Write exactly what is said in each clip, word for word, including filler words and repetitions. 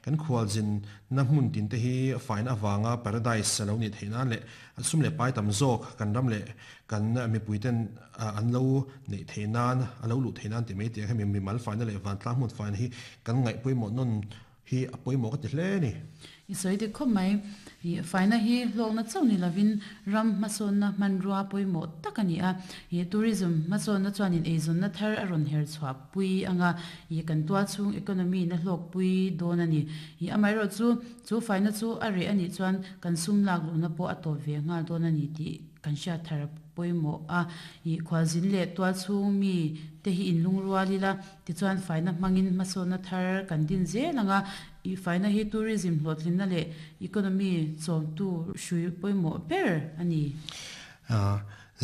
Kan khwal zin na hmun tin te hi faina awanga paradise lo ni theina le sum le pai tam zawk kan ram le kan mi puiten an lo nei theinan alo lu theinan ti mai te hemi mi mal faina le van tlang hmun faina hi kan ngai pawimawh non hi a pawimawh ka ti hle ni. I sawi dik khawp mai. I faina hi hlawkna chauh ni lovin ram hmasawnna hmanrua pawimawh tak a ni a. I tourism hmasawnna chuanin eizawnna thar a rawn her chhuah pui anga i kan tual chhung economy na hlawk pui dawn a ni. I amaherawh chu chu faina chu a reh a nih chuan kan sum lak luhna pawh a tawp ve nghal dawn a ni tih kan hriat thar pawimawh a. I khualzin leh tual chhung mi te hi inlung rual ila tichuan faina hmangin hmasawnna thar kan din zel anga i faina hi tourism hlawhtlinna leh economy chawmtu hrui pawimawh ber a ni.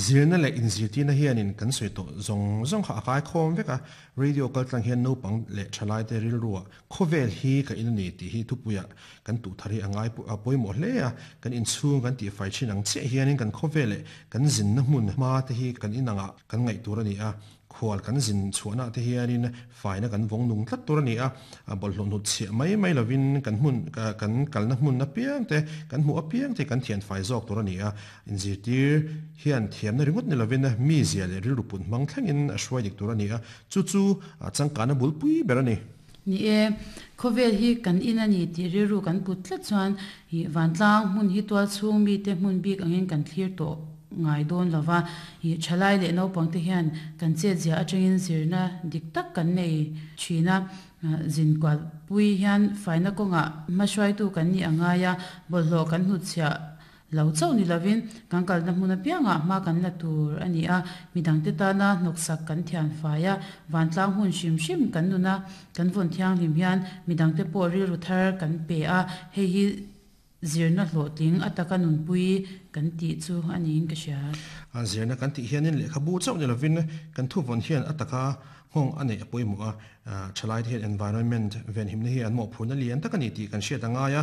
Zirna leh inzirtirna hianin kan sawi tawh zawng zawng kha a kai khawm vek a. Radio kal tlang hian naupang leh thalai te rilrua khawvel hi ka in a ni tih hi thupuia kan tuh thar hi a ngai pawimawh hle a. Kan inchhung kan tih fai thin ang chiah hianin kan khawvel leh kan zinna hmun hma te hi kan inangah kan ngaih tur a ni a. Khual kan zin chhuahna te hianin faina kan vawng nung tlat tur a ni a. Bawlhhlawh hnut chhiah mai mai lovin kan hmun kan kalna hmun apiang te kan hmuh apiang te kan thian fai zawk tur a ni a. Inzirtir hian thiamna ringawt ni lovin mi zia leh rilru put hmang thlengin a hruai dik tur a ni a. Chu chu changkana bulpui ber a ni. Ni e, khawvel hi kan in a ni tih rilru kan put tlat chuan i vantlang hmun hi tual chhung mi te hmun bik angin kan thlir tawh ngai dawn lova. I thalai leh naupang te hian kan chet zia atangin zirna dik tak kan nei thina. Zin kual pui hian faina kawnga hmahruaitu kan ni angai a. Bawlhhlawh kan hnut chhiah lo chauh ni lovin kan kalna hmun apiangah hma kan la tur a ni a. Midang te tana hnawksak kan thian fai a. Vantlang hmun hrim hrim kan nuna kan vawn thianghlim hian midang te pawh rilru thar kan pe a. Hei hi zirna hlawhtling ataka nunpui kan tih chu a niin ka hria. A zirna kan tih hianin lehkha bu chauh ni lovin kan thu vawn hian ataka nghawng a neih a pawimawh a. Thalai te hian environment ven himna hi an mawh phurna lian tak a ni tih kan hriat angai a.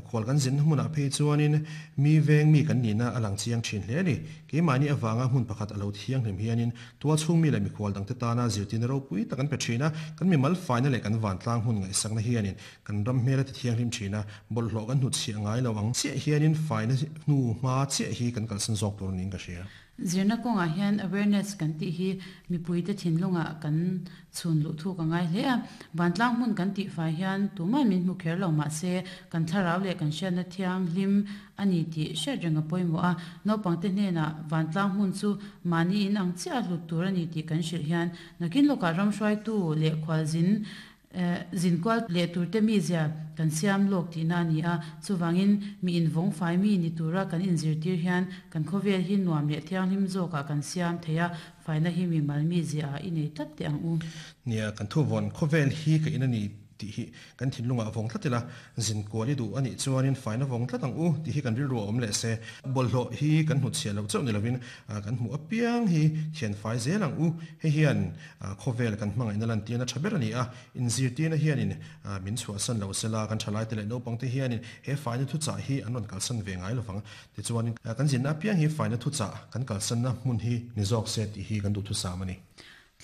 Khual kan zin hmunah phei chuanin mi veng mi kan nihna a lang chiang thin hle a ni. Keimahni awanga hmun pakhat a lo thianghlim hianin tual chhung mi leh mikhual dang te tana zirtirna ropui tak an pe thin a. Kan mi mal faina leh kan vantlang hmun ngaihsakna hianin kan ram hmel a ti thianghlim thin a. Bawlhhlawh kan hnut chhiah ngai lo ang chiah hianin faina hnu hma chiah hi kan kalsan zawk tur niin ka hria. Zirna kawnga hian awareness kan tih hi mipui te thinlunga kan chhun luh thu ka ngai hle a. Vantlang hmun kan tih fai hian tuman min hmu kher lo mah se kan thlarau leh kan hriatna thianghlim a ni tih hriat reng a pawimawh a. Naupang te hnenah vantlang hmun chu mahni in ang chiah hlut tur a ni tih kan hrilh hian nakin lawkah ram hruaitu leh khualzin zinkual leh tur te mi zia kan siam lawk tihna a ni a. Chuwangin mi invawng fai mi ni tura kan inzirtir hian kan khawvel hi nuam leh thianghlim zawkah kan siam thei a. Faina hi mi mal mi zia a i nei tlat te ang u. Nia kan thu vawn khawvel hi ka in a ni tih hi kan thinlunga vawng tlat ila zin kual i duh a nih chuanin faina vawng tlat ang u tih hi kan rilru a awm leh se. Bawlhhlawh hi kan hnut chhiah lo chauh ni lovin kan hmuh apiang hi thian fai zel ang u. Hei hian khawvel kan hmangaihna lan tirna tha ber a ni a. Inzirtirna hianin min chhuahsan lo sela kan thalai te leh naupang te hianin he faina thu chah hi an rawn kalsan ve ngai lovang. Tichuanin kan zinna apiang hi faina thu chah kan kalsanna hmun hi ni zawk se tih hi kan duh thu sam a ni.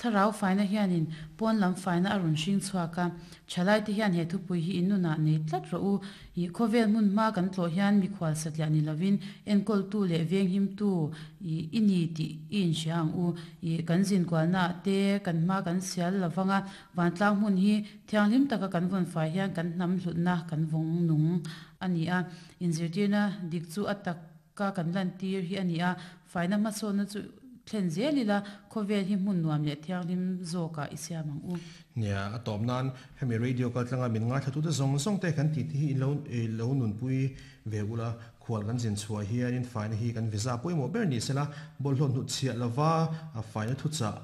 Thlarau faina hianin pawn lam faina a rawn hring chhuak a. Thalai te hian he thupui hi inuna nei tlat rawh u. I khawvel hmun hma kan tlawh hian mikhual satliah ni lovin enkawl tu leh veng him tu i ini tih i inhria ang u. I kan zinkualna te kan hma kan sial lovanga vantlang hmun hi thianghlim taka kan vawn fai hian kan hnam hlutna kan vawng nung a ni a. Inzirtirna dik chu a taka kan lan tir hi a ni a. Faina hmasawnna chu thlen zel ila khawvel hi hmun nuam leh thianghlim zawkah i siam ang u. Nia a tawp nan hemi radio kal tlanga min ngai thlatu te zawng zawng te kan ti ti hi lo lo nunpui ve ula. Khual kan zin chhuah hianin faina hi kan visa pawimawh ber ni sela bawlhhlawh hnut chhiah lova faina thu chah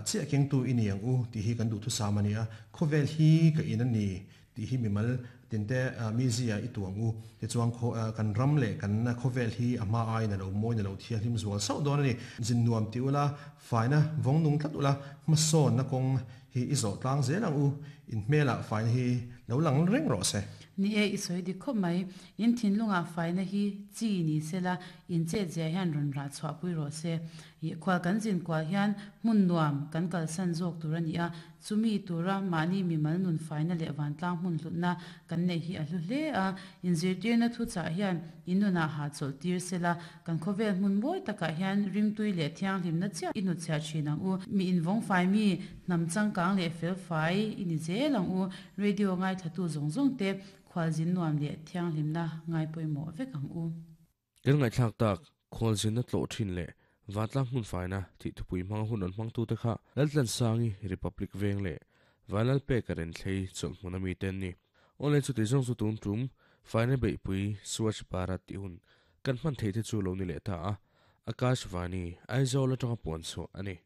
chiah kengtu i ni ang u tih hi kan duh thu sam a ni a. Khawvel hi ka in a ni tih hi mimal tinte mi zia i tuang u. Tichuan kan ram leh kan khawvel hi a hma ai na lo mawi na lo thianghlim zual sauh dawn a ni. Zin nuam ti ula faina vawng nung tlat ula hmasawnna kawng hi i zawh tlang zel ang u. In hmelah faina hi lo lang reng rawh se. Ni e i sawi dik khawp mai. In thinlungah faina hi chi ni sela in chetzia hian rawn rah chhuahpui rawh se. Ih khual kan zin kual hian hmun nuam kan kalsan zawk tur a ni a, chumi tura mahni mimal nun faina leh vantlang hmun hlutna kan neih hi a hlu hle a. Inzirtirna thuchah hian in nunah hahchawlh tir sela, kan khawvel hmun mawi takah hian rimtui leh thianghlimna chiah i hnutchhiah thin ang u. Mi invawng fai mi, hnam changkang leh fel fai i ni zel ang u. Radio ngaithlatu zawng zawng te khualzin nuam leh thianghlimna ngai pawimawh vek ang u. Kan ngaihthlak tak, khualzinna tlawh thin leh vantlang hmun faina tih thupui hmanga hun rawn hmangtute kha Laltlansangi Republic veng leh Vanlalpeka Renthlei chawlhhmun a mite an ni. Awle chuti zawng chu tun tum faina beihpui Swachh Bharat tih hun kan hman theih te chu lo ni leh ta a, Akashvani, Aizawl atanga puan chhuah a ni.